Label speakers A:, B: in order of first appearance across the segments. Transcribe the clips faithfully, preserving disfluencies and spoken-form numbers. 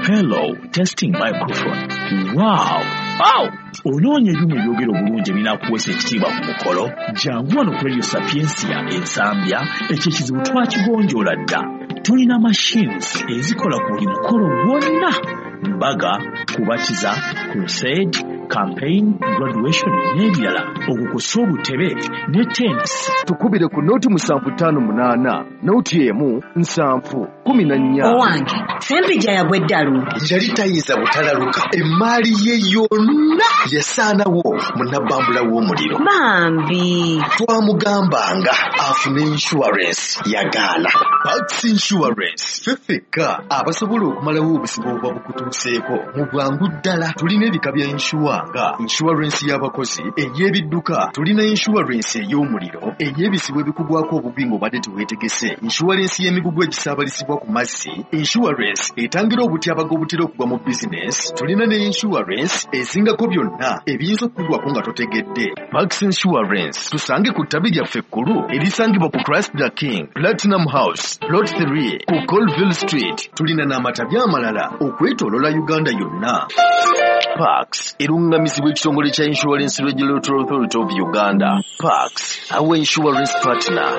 A: Hello, testing microphone. Wow! Wow! Onoonya ebyuma ebyogera obulungi ebinaakuweesa ekitiibwa ku mukolo? Jangu wano ku Radio Sapientia Ensambya, ekyo ekizibu twakigonjoola dda. Tulina machines ezikola ku buli mukolo gwonna: mbaga, kubatiza, crusade, campaign, graduation n'ebirala, okwo kw'ossa obutebe ne tents.
B: Tukubire ku nooti musanvu ttaano munaana nooti emu nsanvu kumi na nnya.
C: Owange, Sempijja yagwa eddalu.
B: Yali tayinza butalaluka, emaali ye yonna yasaanawo mu nabbambula w'omuliro.
C: Bambi.
B: Twamugambanga afune insurance, yagaana. Pax Insurance, ffe ffekka abasobola okumalawo obuzibu obuba bukutuuseeko mu bwangu ddala. Tulina ebika bya insure nga insurance y'abakozi, ey'ebidduka, tulina insurance ey'omuliro, ey'ebizibu ebikugwako obubi ng'obadde teweetegese, insurance y'emigugu egisaabalizibwa ku mazzi, insurance etangira obutyabaga obutera okugwa mu bizinesi, tulina ne insurance ezingako byonna ebiyinza okukugwako nga totegedde. Pax Insurance, tusange ku ttabi lyaffe ekkulu erisangibwa ku Christ the King Platinum House, Plot three ku Colville Street. Tulina n'amatabi amalala okwetooloola Uganda yonna. Pax erungamizibwa ekitongole kya Insurance Regulatory Authority of Uganda. Pax, our insurance partner.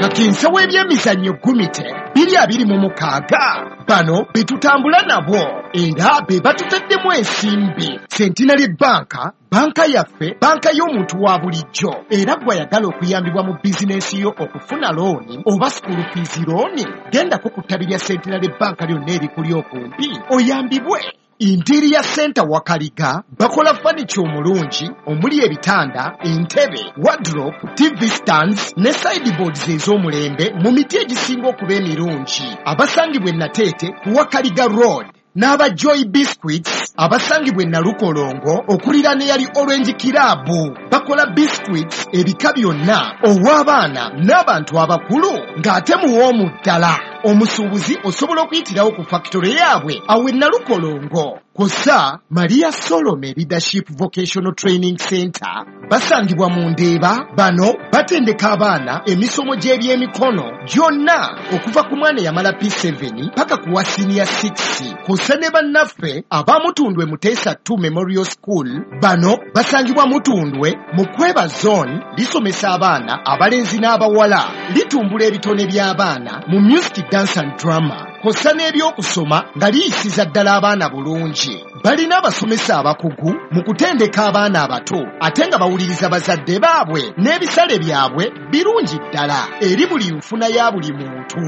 D: Kakensa w'ebyemizannyo Gumite biri abiri mu mukaaga, bano be tutambula nabo era be batutaddemu ensimbi. Centenary Bank, banka yaffe, banka y'omuntu wa bulijjo, era gw'ayagala okuyambibwa mu bizinensi yo okufuna looni oba school fees looni, gendako ku ttabi lya Centenary Bank lyonna erikuli okumpi oyambibwe. Interior Center Wakaliga bakola furniture omulungi omuli ebitanda, entebe, wardrobe, T V stands ne sideboards ez'omulembe mu miti egisinga okuba emirungi. Abasangibwa e Nateete ku Wakaliga Road, n'aba Joy Biscuits abasangibwa e Nalukolongo okuliraana eyali Orange Club, bakola biscuits ebika byonna ow'abaana n'abantu abakulu, ng'ate muwoomu ddala. Omusuubuzi osobola okuyitirawo ku factory yaabwe awo e Nalukolongo. Kw'ossa Maria Solome Leadership Vocational Training Center basangibwa mu Ndeeba. Bano batendeka abaana emisomo gy'ebyemikono gyonna okuva ku mwana eyamala P seven paka ku wa senior six. Kw'ossa ne bannaffe abamutundwe Muteesa two Memorial School, bano basangibwa Mutundwe mu Kweba Zone. Lisomesa abaana abalenzi n'abawala, litumbula ebitone by'abaana mu music, dance and drama, kw'ossa n'ebyokusoma nga liyisiza ddala abaana bulungi. Balina abasomesa abakugu mu kutendeka abaana abato ate nga bawuliriza bazadde baabwe, n'ebisale byabwe birungi ddala eri buli nfuna ya buli muntu.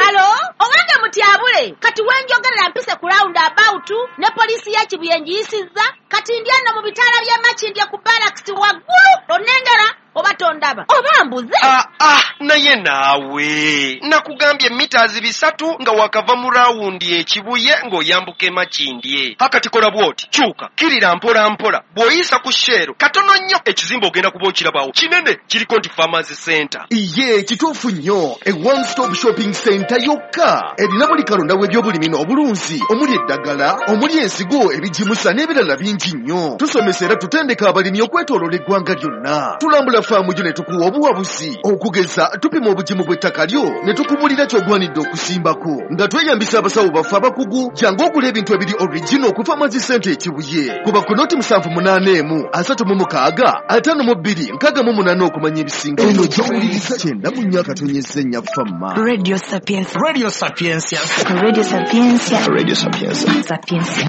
E: Hello, owange mutyabule, kati wenjogerera mpise ku round about ne poliisi ya Kibuye ngiyisizza, kati ndi ano mu bitaala by'e Makindye ku barracks waggulu. Onnengera oba tondaba oba mbuze?
F: Ah, ah, naye naawe nakugambye mita bisatu nga wakava mu rawundi ekibuye ng'oyambuka emakindye. Hakati kola bw'oti, kyuka kirira mpola mpola, bw'oyisa ku Shell katono nnyo, ekizimbe ogenda kuba okirabawo kinene, kiriko nti Farmers Center.
B: Iye, kituufu nnyo, e one stop shopping center yokka erina buli kalonda w'ebyobulimi n'obulunzi, omuli eddagala, omuli ensigo, ebigimusa n'ebirala bingi nnyo. Tusomesa era tutendeka abalimi okwetooloola eggwanga lyonna. Tulambula faamu gyo ne tukuwa obuwabuzi. Okugeza, tupima obugimu bw'ettaka lyo ne tukubulira ky'ogwanidde okusimbako nga tweyambisa abasawo baffe abakugu. Jangu ogula ebintu ebiri original ku Farmers Center Ekibuye. Kuba ku noti musanvu munaana emu asatu mu mukaaga ataano mu bbiri nkaaga mu munaana okumanya ebisinga. Eno gy'owuliriza kyenda mu nnya akatonyeza ennya Fama.
C: Radio Sapientia.
G: Radio Sapientia.
C: Radio Sapientia.
B: Radio Sapientia.
C: Sapientia.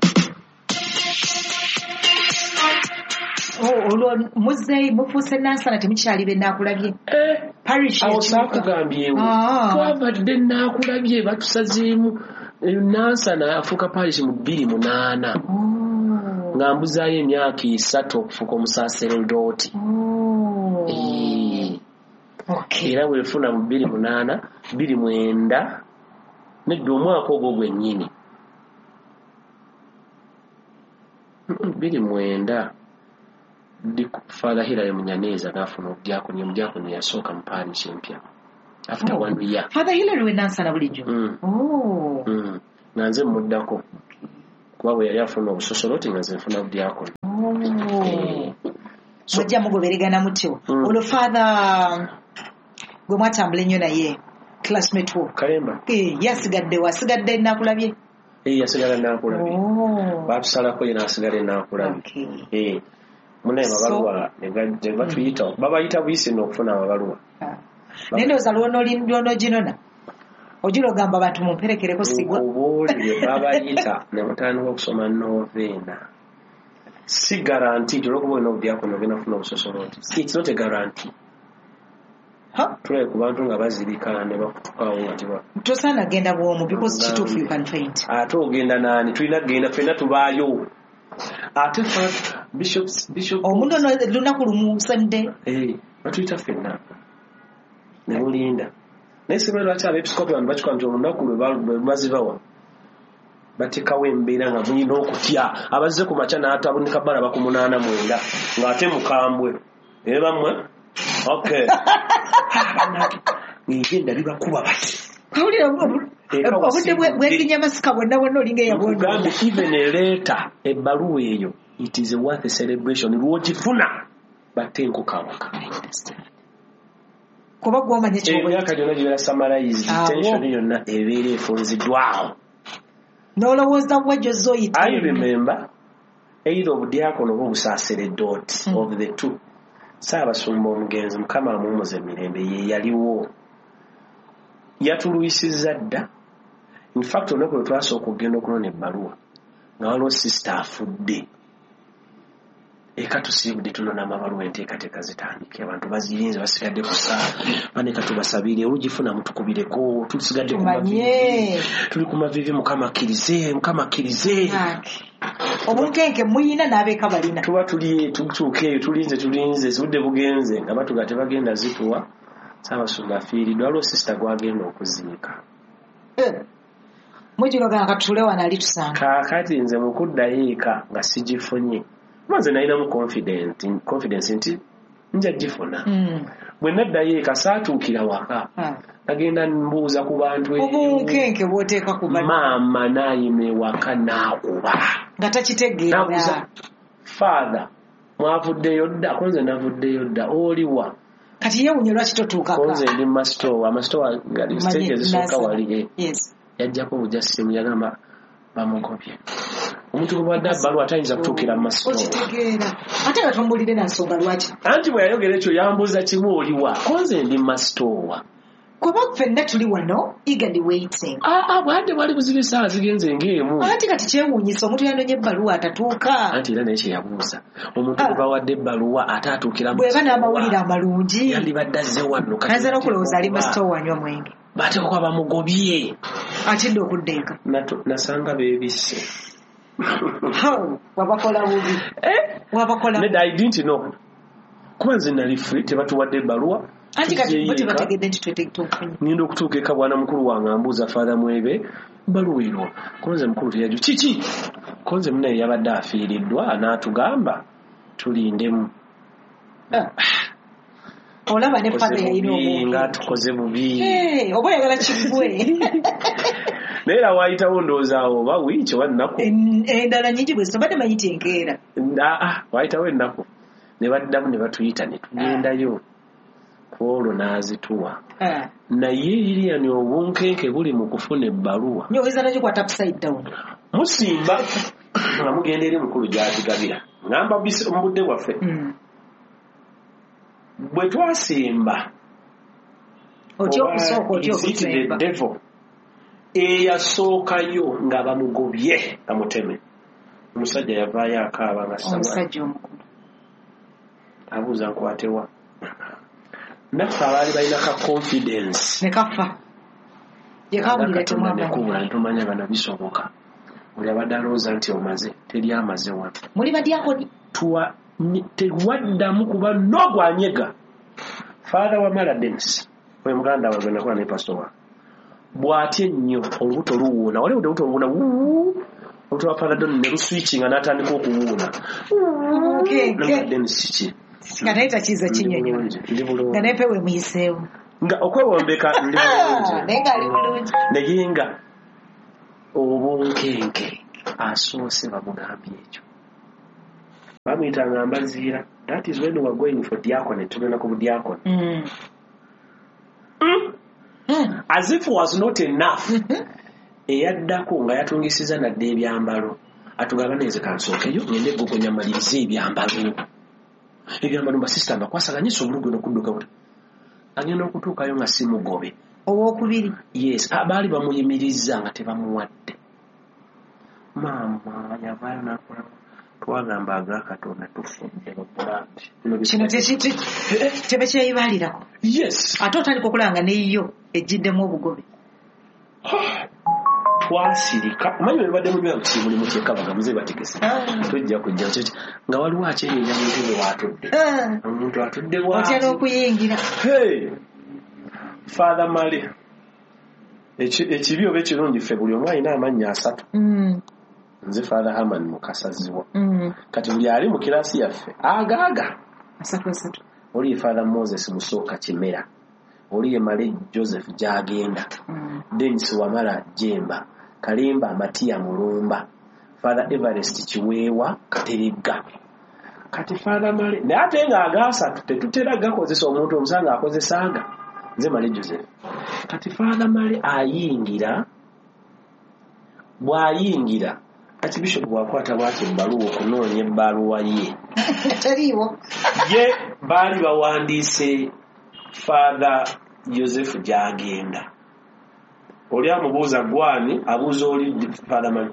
H: Olwo muzeeyi mufuuse Nansana, temukyali be Naakulabye parish.
I: Awo saakugambyewo, twavadde Naakulabye, batusazeemu Nansana afuuka parish mu bbiri munaana, nga mbuzaayo emyaka esatu okufuuka omusaserodooti. Era bwefuna mu bbiri munaana, bbiri mwenda, nedda, omwaka ogwo gwennyini bbiri mwenda, Father Hilary Munyaneza n'afuna obudyakoni. Omudyakoni yasooka mu parish empya after one year.
H: Father Hilary we Nansana bulijjo?
I: Mm.
H: Oh.
I: Mm. Nga nze muddako, kuba bwe yali afuna obusosoloti nga nze nfuna budyakoni.
H: Oh. Mujja mugoberegana mutyo.
I: Mm.
H: Olwo Father gwe mwatambula ennyo naye Classmate wo.
I: Kalemba.
H: Eh, yasigadde wasigadde nakulabye.
I: Eh, yasigala nakulabye.
H: Oh.
I: Batusalako ye n'asigala nakulabye.
H: Okay.
I: Eh. Munaye amabaluwa ne batuyita babayita buyisi n'okufuna amabaluwa.
H: Naye ndowooza lw'onooginona ojula ogamba abantu mumperekereko sigwa.
I: Nkubuulire babayita ne mutandika okusoma noveena. Si guarantee olw'okuba olina obudiakono ogenda kufuna obusosoloti. It's not a guarantee. Tulabe ku bantu nga bazirika ne bakutukawo nga teba.
H: Tosaana genda bw'omu because kituufu you can faint.
I: Ate ogenda naani? Tulina kugenda ffenna tubaayo. Ate Bishop Bishop
H: omuntu ono lunaku lumu Sunday.
I: Eh, batuyita ffenna. Ne mulinda. Naye simanyi lwaki abeepiskopi bano bakikola nti olunaku lwe bazibawa bateekawo embeera nga mulina okutya. Abazze ku makya n'atabunika balaba ku munaana mwenda ng'ate mukambwe. Ee bammwe? Okay. Ng'egenda bibakuba bati.
H: Kawulira obudde bw'ebinyamasika bwonna bwonna olinga eyabwonna.
I: Nkugambe even a letter, ebbaluwa eyo, it is a worth a celebration. Lw'ogifuna batte enkoko awaka.
H: Kuba gw'omanya ky'oba.
I: Emyaka gyonna gibeera summarized, tension yonna ebeera efunziddwawo.
H: N'olowooza wa gy'ozze oyita.
I: I remember either obudiakono oba obusaaseredooti of the two. Ssaabasumba omugenzi Mukama amuwummuze emirembe ye yaliwo. Yatulwisizza dda. In fact olunaku lwe twasooka okugenda okunona ebbaluwa nga waliwo sisita afudde. Eka tusiibudde tunona amabaluwa enteekateeka zitandike abantu bazirinze basigadde ku ssaawa baneka tubasabire olugifuna mutukubireko tusigadde ku maviivi tuli ku maviivi Mukama akkirize Mukama akkirize.
H: Obunkenke muyina n'abeeka balina.
I: Tuba tuli tutuuka eyo tulinze tulinze budde bugenze nga batuga tebagenda zituwa. Ssaabasumba afiiriddwa waliwo sisita gw'agenda okuziika.
H: Mujulogana katule wano ali tusanga.
I: Kaakati nze mu kuddayo eka nga sigifunye. Nze nalinamu confidence nti nja gifuna. Bwe naddayo eka saatuukira waka. Nagenda mbuuza ku bantu eyo.
H: Obunkenke bw'oteeka ku bantu.
I: Maama n'ayima ewaka n'akuba.
H: Nga takitegeera.
I: N'abuuza, Father, mwavuddeyo dda? Ko nze navuddeyo dda. Oliwa?
H: Kati yeewuunya lwaki totuukako.
I: Ko nze ndi mu masitoowa. Amasitoowa gali siteegi ezisooka wali. Yajjako bujja ssimu yagamba bamugobye. Omuntu gwe badde abbaluwa tayinza kutuukira mu masitoowa.
H: Okitegeera. Ate nga tomubuulidde na nsonga lwaki.
I: Anti bwe yayogera ekyo yambuuza kimu oliwa. Ko nze ndi mu masitoowa.
H: Kuba ffenna tuli wano eagerly waiting.
I: Ah ah bwadde bwali buzibu essaawa zigenze ng'emu.
H: Anti kati kyewuunyisa omuntu yanonye ebbaluwa atatuuka.
I: Anti era naye kye yabuuza. Omuntu gwe bawadde ebbaluwa ate atuukira mu
H: Bw'eba n'amawulire amalungi.
I: Yandibadde azze wano.
H: Ayinza n'okulowooza ali mu masitoowa anywa mwenge.
I: Bateekwa kuba bamugobye.
H: Atidde okudda eka.
I: Nasanga beebisse.
H: Wabakola bubi. Wabakola.
I: Nedda I didn't know. Kuba nze nali free tebatuwadde ebbaluwa.
H: Anti kati bo tebategedde nti twetufunye.
I: Ngenda okutuuka eka bwana mukulu wange ambuuza Father Mwebe bbaluwa erwa. Ko nze mukulu teyajja. Kiki? Ko nze munnaye yabadde afiiriddwa n'atugamba tulindemu.
H: Olaba ne Father yalina obungi.
I: Nga tukoze bubi.
H: Oba oyagala kiggwe.
I: Naye era waayitawo ndowooza awo oba wiiki oba nnaku.
H: Endala nnyingi bwe zityo manyi nti enkeera.
I: Aa waayitawo ennaku. Ne baddamu ne batuyita ne tugendayo. Ku olwo n'azituwa. Naye Lilian obunkenke buli mu kufuna ebbaluwa.
H: Nnyo oyinza n'ogikwata upside down.
I: Musimba nga mugenda eri mukulu gy'azigabira. Ngamba mu budde bwaffe. Bwe twasimba
H: otya okusooka otya okusemba.
I: Eyasookayo nga bamugobye bamuteme. Omusajja yavaayo akaaba nga saba.
H: Omusajja omukulu.
I: Abuuza nkwatewa. Naffe abaali balina ka confidence.
H: Ne kafa. Yekawulira temwamanya.
I: Tumanya bano bisoboka. Buli abadde alowooza nti omaze teri amaze wano.
H: Muli badyakoni.
I: Tuwa tewaddamu kuba n'ogwanyega. Father Wamala Dennis, oyo muganda wange nakola ne pastor wa. Bw'atya ennyo olubuto luwuuna. Waliwo olubuto luwuuna wuu. Olubuto lwa Father Don ne luswitchinga n'atandika okuwuuna.
H: Okay.
I: Dennis ki?
H: Nga naye takiza kinnyonnyola. Nga naye pe we muyiseewo.
I: Nga okwewombeka ndi bulungi.
H: Naye ng'ali bulungi.
I: Naye nga obunkenke asoose bamugambye ekyo. Bamuyitanga Mbaziira. That is when we were going for diaconate. Tugenda ku budiakoni.
H: Mm.
I: Mm.
H: Mm.
I: As if was not enough, eyaddako nga yatungisiza nadde ebyambalo, atugamba neze kansookeyo ngende egogonya malirize ebyambalo. Ebyambalo basisita mbakwasaganye sobula ogenda okudduka buta. Agenda okutuukayo nga si mugobe.
H: Owokubiri.
I: Yes, baali bamuyimirizza nga tebamuwadde. Maama yavaayo n'akola, twagamba aga Katonda tufudde babulandi.
H: Kino tebekyeyibalirako.
I: Yes.
H: Ate otandika okulaba nga neyo ejjiddemu obugobe.
I: Twasirika. Omanyi bwe babadde munywa nti muli mukyekabaga muze bategese. Tujja kujja kiki nga waliwo akyenyinya mu ntebe w'atudde. Omuntu atudde bw'ati.
H: Otya n'okuyingira.
I: Hey! Father Male. Ekibi oba ekirungi ffe buli omu alina amannya asatu.
H: Mm.
I: Nze Father Herman Mukasaziwa.
H: Mm.
I: Kati buli ali mu kirasi yaffe agaaga.
H: Asatu asatu.
I: Oli ye Father Moses Musooka Kimera. Oli ye Male Joseph Gyagenda.
H: Mm.
I: Dennis Wamala Jemba. Kalimba Matia Mulumba. Father Everest Kiweewa Kateregga. Kati Father Male naye ate nga agaasatu tetutera gakozesa omuntu omusanga akozesanga. Nze Male Joseph. Kati Father Male ayingira, bw'ayingira Archbishop bw'akwata bw'ati ebbaluwa okunoonya ebbaluwa ye.
H: Teriiwo.
I: Ye baali bawandiise Father Joseph gy'agenda. Oli amubuuza gwani, abuuza oli Father Male.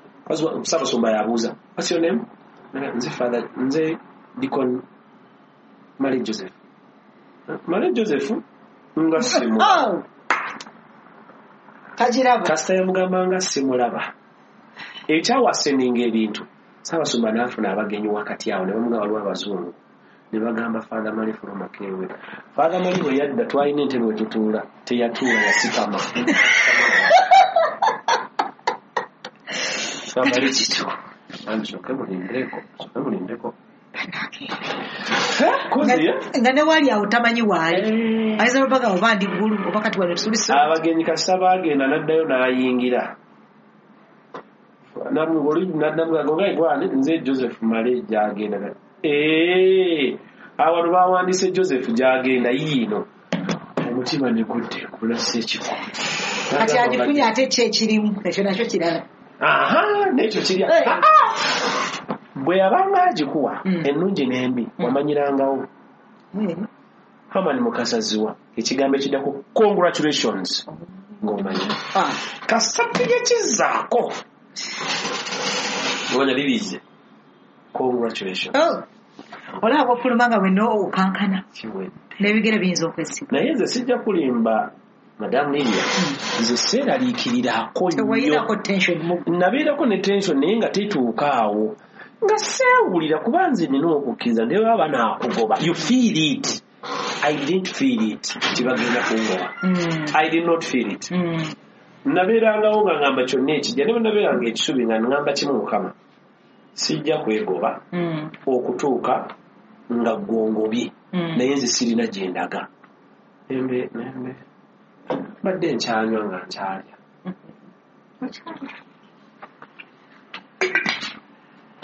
I: Ssaabasumba yabuuza, what's your name? Nze Father, nze Deacon Male Joseph. Male Joseph nga simulaba.
H: Tagiraba.
I: Kasita yamugamba nga simulaba. Ekyawaseninga ebintu, Ssaabasumba n'afuna abagenyi wakati awo ne bamugamba waliwo abazungu. Ne bagamba Father Male fuluma kewe. Father Male bwe yadda twalina entebe we tutuula, teyatuula yasikama. Father Male kitu. Ansooke mulindeko, nsooke mulindeko.
H: Nga ne waali awo tamanyi waali. Ayinza okuba nga oba ndi ggulu oba kati wano tulisa.
I: Abagenyi kasita baagenda n'addayo n'ayingira. Namugamba nze Joseph Male gy'agenda. Ee, awano bawandiise Joseph gy'agenda yiino. Omutima ne gudde kulasa ekifo.
H: Kati agifunye ate ki ekirimu ekyo nakyo kirala.
I: Aha, n'ekyo kiri. Bwe yabanga agikuwa ennungi n'embi wamanyirangawo. Herman Mukasaziwa ekigambo ekiddako congratulations ng'omanyi. Kasita kizaako. Ngonya bibize. Congratulations.
H: Oh. Olaba ofuluma nga wenna okankana.
I: Kiwedde.
H: N'ebigere biyinza okwesiba.
I: Naye nze sijja kulimba Madam Lilia. Nze seeraliikirirako nnyo.
H: Tewayinako tension mu.
I: Nabeerako ne tension naye nga tetuuka awo. Nga seewulira kuba nze nina okukkiriza naye baba banaakugoba. You feel it. I didn't feel it. Nti bagenda kungoba.
H: Mm.
I: I did not feel it.
H: Mm.
I: Nabeerangawo nga ngamba kyonna ekijja ne bwe nabeeranga ekisubi nga ngamba kimu Mukama. Sijja kwegoba
H: mm.
I: okutuuka nga ggwongobye
H: mm.
I: naye nze sirina gye ndaga. Embe nembe mbadde nkyanywa nga nkyalya.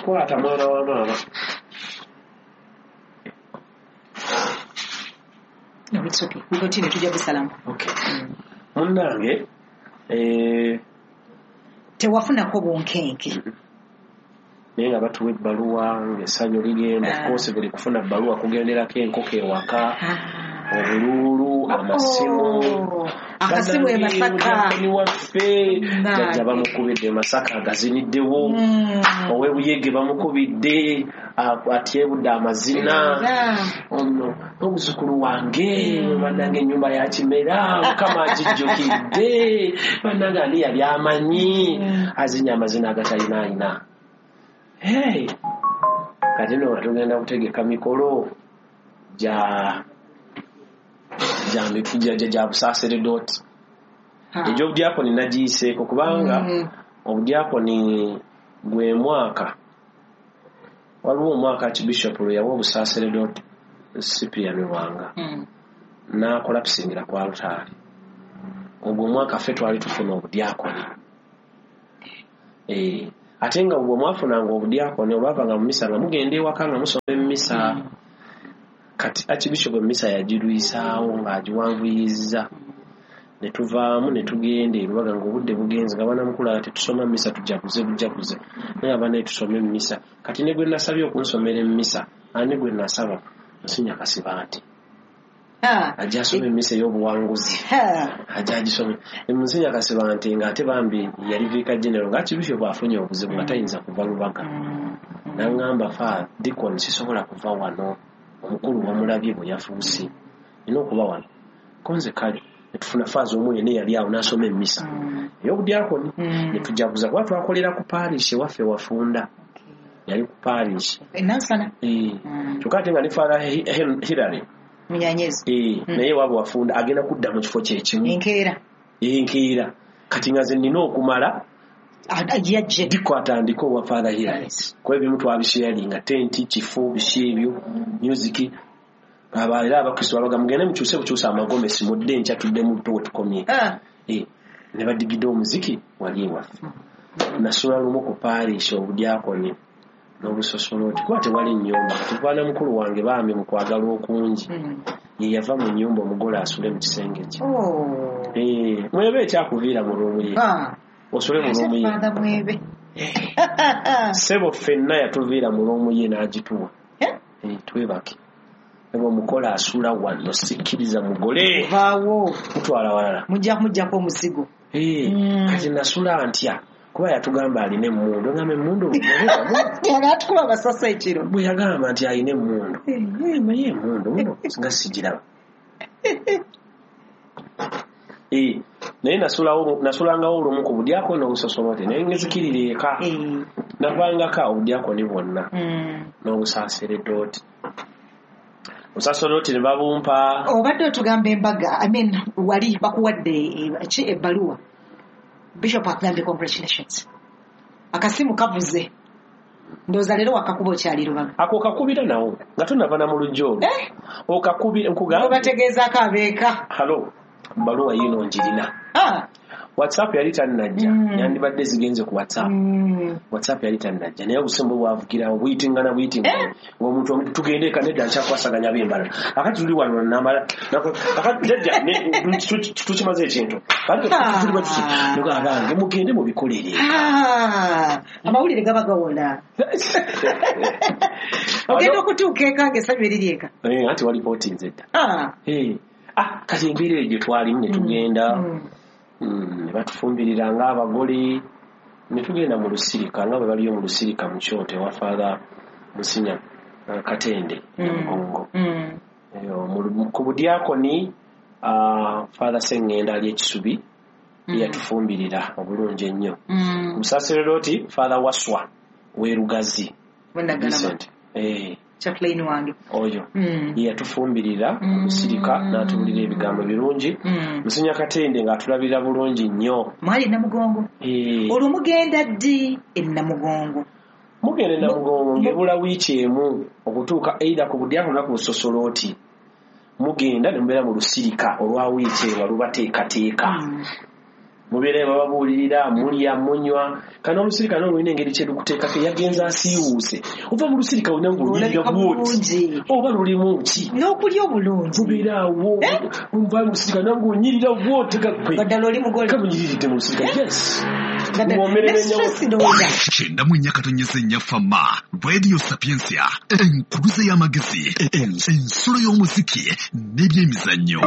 I: Kwata mwana wa maama.
H: No, it's okay. We continue tujja busalamu.
I: Okay. Mm. Munnange eh
H: tewafunako bunkenke.
I: Naye nga batuwa ebbaluwa ng'essanyu ligenda. Of course buli kufuna bbaluwa kugenderako enkoko ewaka, obuluulu, amasimu.
H: Akasimu e Masaka.
I: Mutabani waffe jjajja bamukubidde e Masaka agaziniddewo. Ow'e Buyege bamukubidde atyebudde amazina. Ono omuzukulu wange bannange ennyumba ya Kimera Mukama agijjukidde bannange ani yali amanyi azinya amazina agatalina ayina. Hey, kati nno tugenda kutegeka mikolo gya gya gya gya busaaseredooti. Egy'obudyakoni nagiyiseeko kubanga
H: mm.
I: obudyakoni gwe mwaka waliwo omwaka Archbishop lwe yawa obusaaseredooti Cyprian Lwanga
H: mm.
I: n'akolapusingira ku alutaari. Ogwo omwaka ffe twali tufuna obudyakoni. Eh, ate nga bwe mwafunanga obudyakoni olwavanga mu misa nga mugenda ewaka nga musoma emmisa.
H: Mm.
I: Kati Archbishop emmisa yagirwisaawo ng'agiwanvuyizza. Ne tuvaamu ne tugenda e Lubaga ng'obudde bugenze nga banamukulu tetusoma mmisa tujaguze bujaguze naye abaana tusome emmisa. Kati ne gwe nasabye okunsomera emmisa ani gwe nasaba Nsinya Kasibante ajja asome emmisa ey'obuwanguzi ajja agisome. Nsinya Kasibante ng'ate bambi yali viika general ng'akibifyo bw'afunye obuzibu nga tayinza kuva Lubaga. N'aŋŋamba fa Deacon sisobola kuva wano omukulu wamulabye bwe yafuuse nina okuba wano konze kale tufuna faaza omu yenna yali awo n'asoma emmisa ey'obudyakoni ne tujaguza kuba twakolera ku parish ewaffe wafunda yali ku parish
H: Nansana
I: kyokka ate nga ne Father Hillary
H: Munyanyezi
I: naye waabwe wafunda agenda kudda mu kifo kye kimu
H: enkeera
I: enkeera kati nga nze nnina okumala
H: yajje
I: diko atandike owa Father Hillary kuba ebimu twabisharinga tenti kifo biki ebyo music abalera abakristo babaga mugende mukyuse bukyusa amagomesi mudde enkya tudde mu buto wetukomye eh ne badigidde omuziki wali ewaffe. Nasula lumu ku parish obudyakoni n'obusosoloti kuba tewali nnyumba tukwana mukulu wange bambi mu kwagala okungi ye yava mu nnyumba omugole asule mu kisenge kye eh mwebe ekyakuviira mu ruumu ye osule mu ruumu ye ssebo ffenna yatuviira mu ruumu ye n'agituwa eh twebake omukola asula wano sikkiriza mugole
H: vaawo
I: kutwala walala
H: mujja kumuggyako omuzigo
I: eh kati nasula ntya kuba yatugamba alina emmundu ngamba emmundu
H: yatukuba amasasi ekiro
I: bwe yagamba nti alina emmundu naye emmundu muno nga sigiraba eh naye nasulawo nasulangawo olumu ku budyakoni n'obusosolote naye ngezikirira eka navangako obudyakoni bwonna n'obusaaseredooti osasoloti ne babumpa.
H: Obadde otugamba embaga I mean wali bakuwadde ki ebbaluwa Bishop akugambye congratulations akasimu kavuze ndowooza leero wakakuba okyali Lubaga
I: ako kakubira nawo nga tonava na mu lujja olwo okakubira nkugamba
H: obategeezaako abeeka
I: halo bbaluwa yiino njirina WhatsApp yali tannajja yandibadde zigenze ku WhatsApp WhatsApp yali tannajja naye obusimbu bwavugirawo buyitingana buyitingana ng'omuntu tugende eka nedda nkyakwasaganya b'embala akati tuli wano namala akati jjajja tukimaze ekintu kati tuli bwe tuti nuga abange mugende mubikolere
H: amawulire gaba gawola ogenda okutuuka eka ng'essanyu eriri eka
I: anti walipootinze dda ah kati embeera eyo gye twalimu ne tugenda ne batufumbirira ng'abagole ne tugenda mu lusirika nga bwe baliyo mu lusirika mu kyoto ewa Father Musinya Katende Namugongo ku budyakoni Father Sengenda ali Ekisubi yatufumbirira obulungi ennyo. Ku busaseredooti Father Waswa w'e Lugazi eh
H: chaplain wange
I: oyo yatufumbirira mu lusirika n'atubulira ebigambo birungi. Musinya Katende ng'atulabirira bulungi nnyo.
H: Mwali Namugongo olwo mugenda ddi e Namugongo?
I: Mugenda e Namugongo ng'ebula wiiki emu okutuuka either ku budyakoni oba ku busosolooti. Mugenda ne mubeera mu lusirika olwa wiiki emu lubateekateeka mubeera bababuulirira mulya munywa kano olusirika n'olulina engeri kye lukuteekako yagenze asiiwuuse ova mu lusirika olina ng'onyirira bw'oti oba lulimu ki
H: n'okulya obulungi
I: mubeera awo nva mu lusirika nange onyirira bw'oti
H: gaggwe ddala oli mugole
I: kamunyiriridde mu lusirika yes
B: kyenda mu nnya katonyeze nnya Fama Radio Sapientia enkuluze y'amagezi ensulo y'omuziki n'ebyemizannyo.